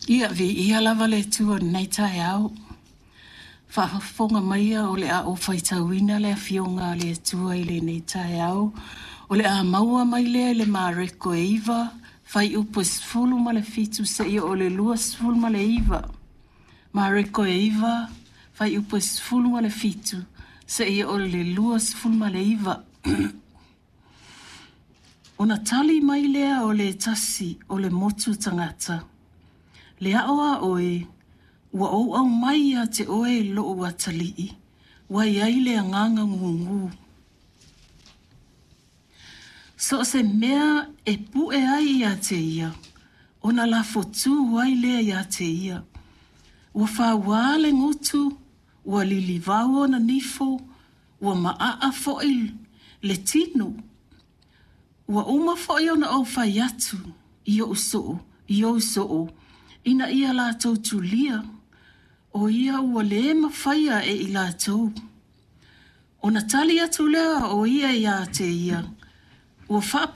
Ia, viia lava le Atua i lenei taeao. Faafofoga maia o le a ou faitauina le Afioga a le Atua i lenei taeao. O le a maua mai lea i le Mareko e 9, fuaiupu e 17 seia oo i le 29. Mareko e 9, fuaiupu e 17 seia oo i le 29. Ona tali mai lea o le tasi o le motu tagata, Le ao a oe, ua ou aumai ia te oe lou atalii, ua i ai le agaga gugu. So o se mea e pue ai ia te ia, ona lafotu ai lea ia te ia. Ua fauā le gutu, ua lilivau ona nifo, ua maaa foi le tino. Ua uma foi ona ou fai atu i ou soo, i ou soo, ina ia latou tulia, o ia ua le mafaia e i latou. Ona tali atu lea o ia ia te ia, ua faapefea.